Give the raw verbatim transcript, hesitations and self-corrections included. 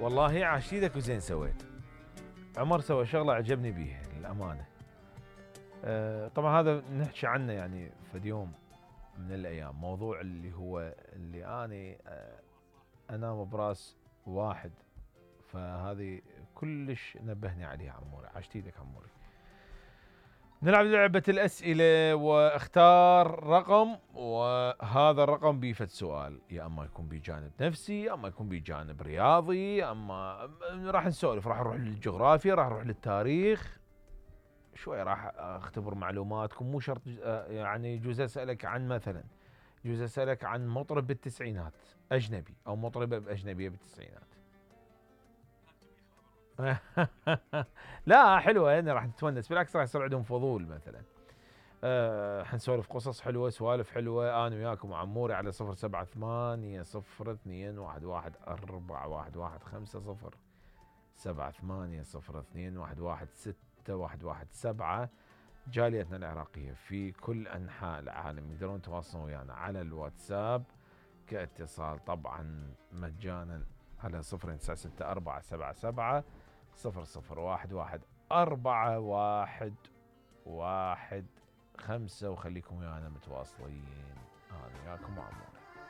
والله عاشت ايدك وزين سويت. عمر سوى شغله عجبني بيها للامانه. أه طبعا هذا نحكي عنه يعني في يوم من الايام، موضوع اللي هو اللي اني أه انام براس واحد، فهذه كلش نبهني عليها عموري. عاشت ايدك عموري. نلعب لعبة الأسئلة واختار رقم، وهذا الرقم بيفت سؤال، يا اما يكون بجانب نفسي، يا اما يكون بجانب رياضي، اما راح نسولف، راح نروح للجغرافيا، راح نروح للتاريخ، شوي راح اختبر معلوماتكم. مو شرط يعني يجوز اسالك عن مثلا يجوز اسالك عن مطرب بالتسعينات اجنبي او مطربه باجنبيه بالتسعينات. لا حلوه يعني راح نتونس، بالعكس راح يصير عندهم فضول مثلا. أه حنسولف قصص حلوه، سوالف حلوه انا وياكم وعموري على صفر سبعة ثمانية صفر اثنين واحد واحد أربعة واحد واحد خمسة صفر سبعة ثمانية صفر اثنين واحد واحد ستة واحد واحد سبعة. جاليتنا العراقيه في كل انحاء العالم يقدرون يتواصلون ويانا على الواتساب كاتصال طبعا مجانا على صفر تسعة ستة أربعة سبعة سبعة صفر صفر واحد واحد أربعة واحد واحد خمسة، وخليكم ويانا متواصلين. أنا وياكم وعمور.